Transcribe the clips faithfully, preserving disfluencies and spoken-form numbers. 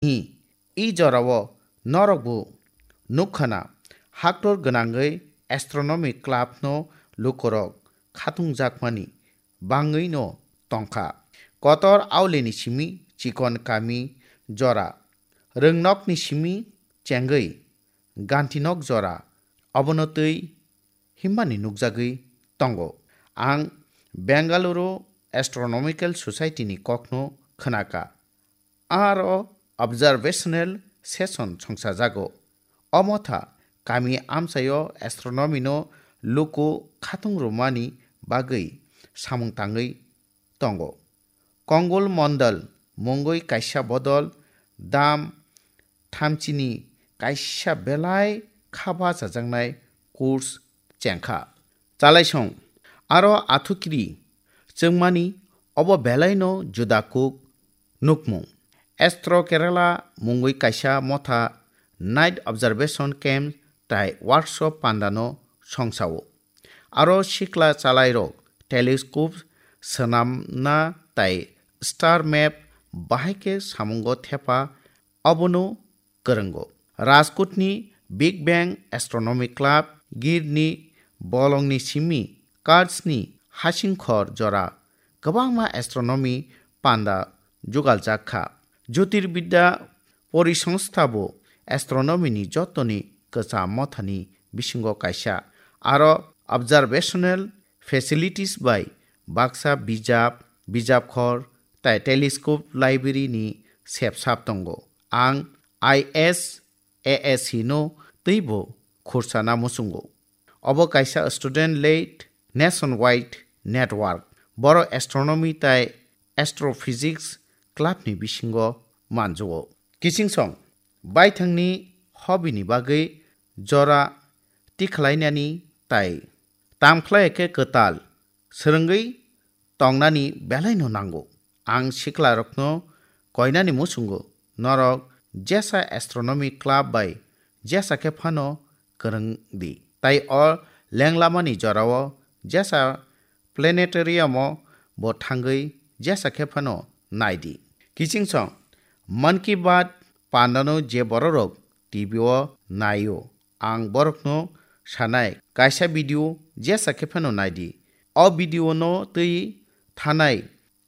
Hi, i jorao norokbo nukkhana, haktor gwnangwi astronomy club no lukurok khatungjakmani bangwi no tongkha. Kotor aulini simi chikon kami jora, rwngnokni simi chengwi gantinok jora, obono twi himmani nukjagwi tongo. Ang Bengaluru Astronomical Society ni kokno khwnakha. Aro observational session songchajago. O motha kami amchaio astronomy no luku khatung rwmani bagwi samung tangwi tongo. Kongul Mondal mungwi kaisa bodol dam thamchini kaisa belai kha bachajaknai course chengkha. Chalaisong aro athukiri chwngmani obo belaino juda kuk nukmung. Astro Kerala mungwi kaisa motha night observation camp tai workshop pandano songsao. Aro sikla chalairok telescope swnamna tai star map bahai khe samungo thepa obono kwrwngo. Rajkotni Big Bang Astronomy Club, Girni bolongni simi Kurdsni hasingkhor jora kwbangma astronomy panda jugaljak kha. Jyotirbidya Porisongstha bo astronomy ni jotoni kwcham mothani bisingo kaisa. Aro observational facilities bai baksa bijap, bijapkhor tai telescope library ni sepsap tongo. Ang I S A S C no teibo khursana muchungo. Obo kaisa student-led nationwide network. Boro astronomy tai astrophysics club ni bisingo manjuo. Kichingsong baithangni hobby ni bagwi jora tikhlainani tai tamkhlai khe kwtal swrwngwi tongnani belaino nango. Ang siklarokno koinani muchungo, norok jesa astronomy club bai jesa khe phano kwrwng di. Tai o lenglamani jorao jesa planetarium-o bo thangwi jesa khe phano nai di. Kichingsong Mann Ki Baat pandano je bororok T V-o naio, ang borokno sanai, kaisa video jesa khe phano nai di. O video-no twi thanai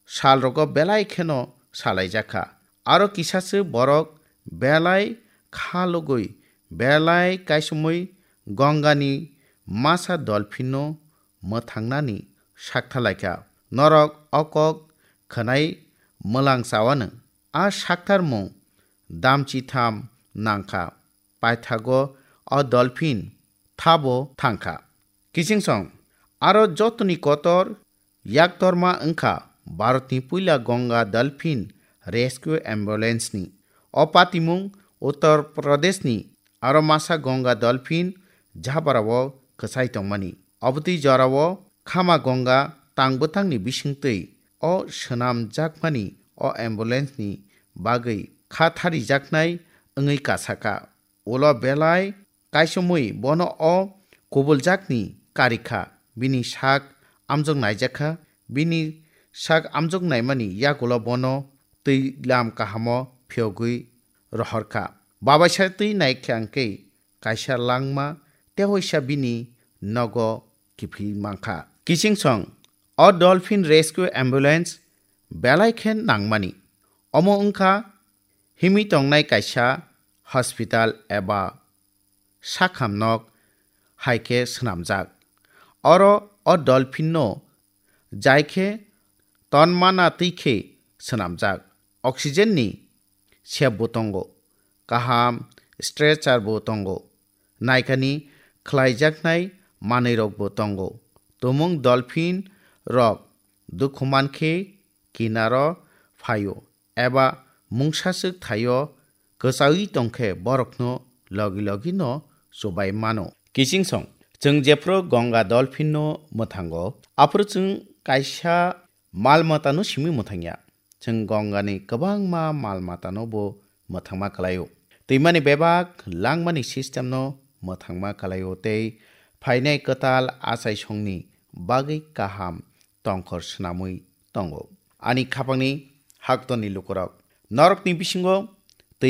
salrogo belai kheno salaijakha. Aro kisaswk borok belai kha logwi, belai kaisomwi Gongani masa dolphin-no mwthangnani sakthalaikha. Norok o kok khwnai mwlang chawano. A saktharmung damchitham nangkha. Paithago o dolphin thabo thangkha. Kichingsong aro jotoni kotor yaktorma wngkha Bharatni puila Ganga Dolphin Rescue Ambulance ni. O patimung Uttar Pradesh ni aro masa Ganga Dolphin Jhabarao kwchai tongmani. Obotwi jorao khama Ganga tang bwtangni bisingtwi o swnamjakmani o ambulance ni bagwi kha tharijaknai wngwi kasakha. Ulo belai kaisomwi bono o kubuljakni karikha, bini sak amjok naijakha, bini sak amjok naimani yagulo bono twi lam kahamo phiyogwi rohorkha. Babaisa twi naikha hwnkhe kaisa langma tehoisa bini nogo kiphil mankha. Kichingsong o Dolphin Rescue Ambulance belai khe nangmani. Omo wngkha himwi tongnai kaisa hospital eba sakham nok hai khe swnamjak. Oro o dolphin no jai khe tonmana twi khe swnamjak. Oxygen ni sep bo tongo, kaham stretcher bo tongo, naikani khlaijaknai manwi rok bo tongo. Tumung dolphin rok dukhu mankhe kinaro phaio eba mungsaswk thaio kwchawi tongkhe borokno logi logi no chubai mano. Kichingsong, chwng jephru Ganga dolphin no mwthango, aphuru chwng kaisa mal mata no simi mwthangya. Chwng Ganga ni kwbangma mal mata no bo mwthangma kwlaio. Twimani bebak langmani system no mwthangma kwlaio tei phainai kwtal achaisongni bagwi kaham tongkhor swnamwi tongo. Ani khapangni haktorni lukurok, norokni bisingo